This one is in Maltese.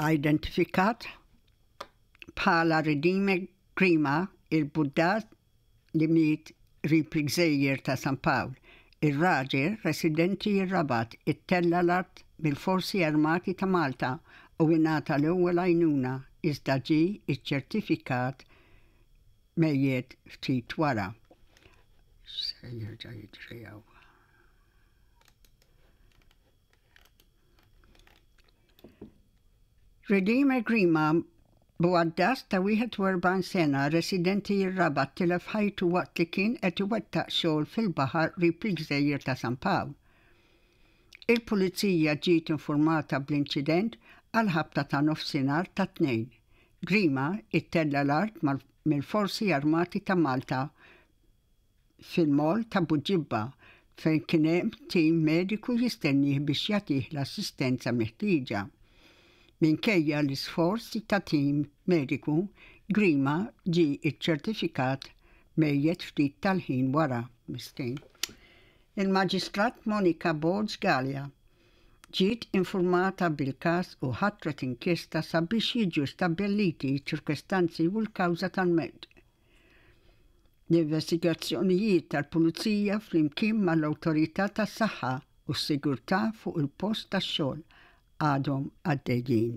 Identifikat bħala Redeemer Grima, il-Buddat li miet qrib il-gżejjer ta' San Pawl. Ir-raġel, residenti r-Rabat, ittella' l-art mill-Forzi Armati ta' Malta u ingħata l-ewwel għajnuna iżda ġie ċċertifikat mejjet ftit wara. X'se jerġa' jiġri hawn? Redeemer Grima Bugħaddas ta' 41 sena, residenti r-Rabat tilef ħajtu waqt li kien qed iwettaq xogħol fil-baħar qrib il-gżejjer ta' San Pawl. Il-Pulizija ġiet infurmata bl-inċident għall-ħabta ta' nofsinhar tat-Tnejn. Grima ittella' l-art mill-Forzi Armati ta' Malta fil-Mall ta' Buġibba fejn kien hemm tim mediku jistennieh biex jagħtih l-assistenza meħtieġa. Minkejja l-isforzi ta' tim mediku, Grima ġie ċċertifikat mejjet ftit tal-ħin wara. Miskin. Il-Maġistrat Monica Borg Galea ġiet infurmata bil-każ u ħatret inkjesta sabiex jiġu stabbiliti ċ-ċirkostanzi u l-kawża tal-mewt. L-investigazzjonijiet tal-Pulizija flimkien mal-Awtorità tas-Saħħa u s-Sigurtà fuq il-post tax-xogħol għadhom għaddejjin.